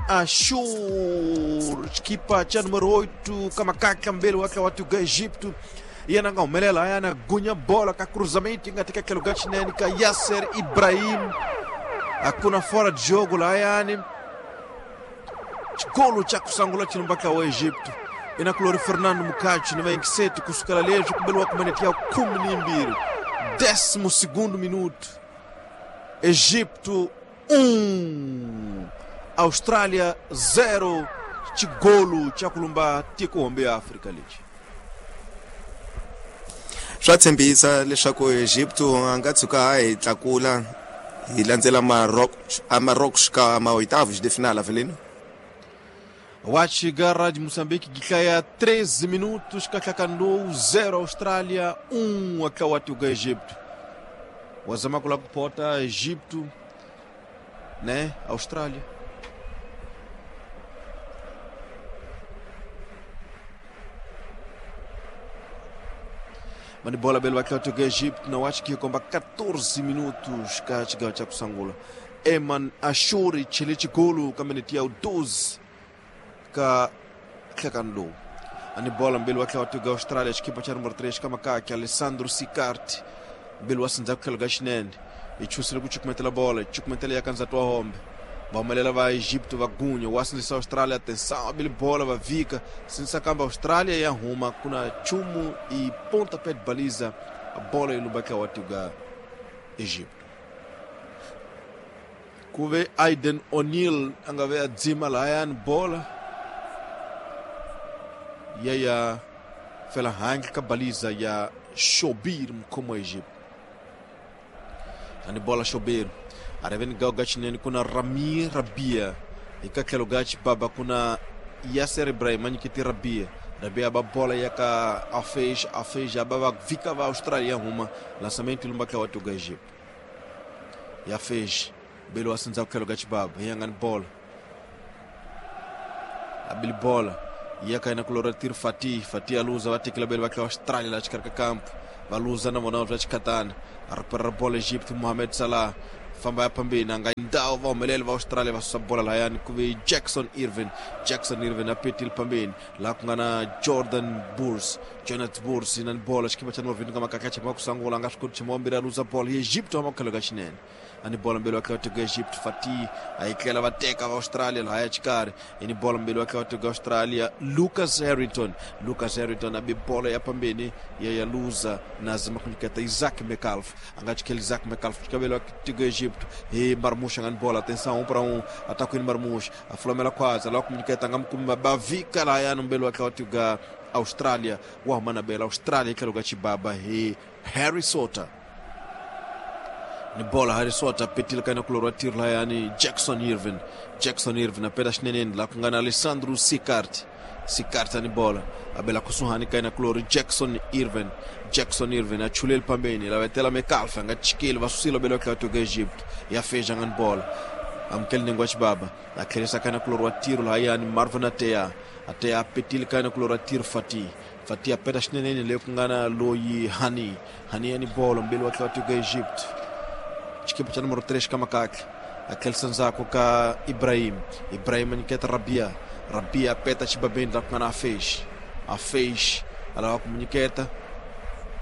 Ashur, xikipa cha número 8 kamakaka mbele wake watu ga Egipto yena nga humelela yana gunya bola ka cruzamento nga teka lugar chinene ka Yasser Ibrahim hakuna fora de jogo lá yani chigolo cha kusangula chilumbaka wa Egipto ina kulori Fernando Mukachi ni 27 kusukala lejo kubelwa kumanetia 12 12º minuto. Egipto 1 Austrália 0 chigolo cha kulumba tiko hombe Afrika leji. Swa tshembisa leswaku Egipto a nga tshuka a hi tlakula hi landzela Marrocos ka maoitavos de final, Avelino. Wachiga Rádio Moçambique giklaya 13 minutos katlakando 0 Austrália 1 akawatuga Egipto. Wazama kula kupota Egipto, né? Austrália. Mani bola belo akawatuga Egipto na wachi komba 14 minutos kachiga cha kusangula. Eman Ashuri chilichi golu kamenetia 12 ka tlakando. Ani bola mbele wakhe watuga Austrália equipa cha número 3 kamakaki Alessandro Sicarte mbele wasinza kukhela xinene ichusile kuchukumetela bola chukumetela yakanza twa hombe vahumelela va Egipto va gunya wasindzisa Austrália atenção abili bola va vika sindzisa kamba Austrália ya huma kuna chumu e pontapé de baliza a bola ilumbaka watuga Egipto. Kuve Aiden O'Neill angave adzima layan bola yaya fela hangi ka baliza ya Shobir mkomo Egipto. Ani bola Shobir areveni gao gachineni kuna Rami Rabia ikakhelo gachi baba kuna Yasser Ibrahim anyikiti Rabia Rabia ba bola yaka afej afej ababa vika va Austrália huma lançamento ilumbaka watuga Egipto. Ya fej belo asinza kukhelo gachi baba yangani bola abili bola yaka ina kulora tir Fatih Fatih aluza vatekela belo vakla Austrália la chikarka campo valuza na vona vachikatana a recuperar bola Egipto Mohamed Salah famba ya pambeni anga ndao va humelela va Australia va susa bola layani ku ve Jackson Irvin Jackson Irvin a petile pambeni laha ku nga na Jordan Burs Jonathan Burs na bola xikipa cha número 20 ka makaka chama kusangula a nga swi koti chama wambirhi a luza bola ya Egipto hama kukhelo ka xinene ani bola mbili wa tiko Egypt Fatih a yi tlela va teka va Australia lahaya xikarhi ini bola mbili wa tiko Australia Lucas Harrington Lucas Harrington a bi bola ya pambeni ya ya luza na zama kunyiketa Isaac Metcalf a nga chikela Isaac Metcalf xikavelo wa tiko Egypt hi Marmoush nga ni bola atenção 1 para 1 ataku ni Marmoush a flamela khwaza la kunyiketa nga mukumi bavika lahaya mbili wa tiko Australia wa huma na bela Australia tlhelo ka xibaba hi Harry Soter ni bola Harry Soter petile ka na kulorwa tiro layani Jackson Irvin Jackson Irvin a peta xineneni laha ku nga na Alessandro Sicarte Sicarte ni bola a bela kusuhani ka na kulori Jackson Irvin Jackson Irvin a chuleli pambeni la vetela Metcalf a nga chikeli va susile bela ka toka Egypt ya feja nga ni bola amukeli nengwa xibaba a tlherisa ka na kulorwa tiro lahayani Marvin Atea Atea petile ka na kulorwa tiro Fatih Fatih a peta xineneni leyi ku nga na loyi Hani Hani ya ni bola mbeli wa tiko Egypt xikipa cha número 3 ka makakla a tlherisa ndzhaku ka Ibrahim Ibrahim a nyiketa Rabia Rabia peta xibabeni la ku nga na Afesh Afesh a lava ku mu nyiketa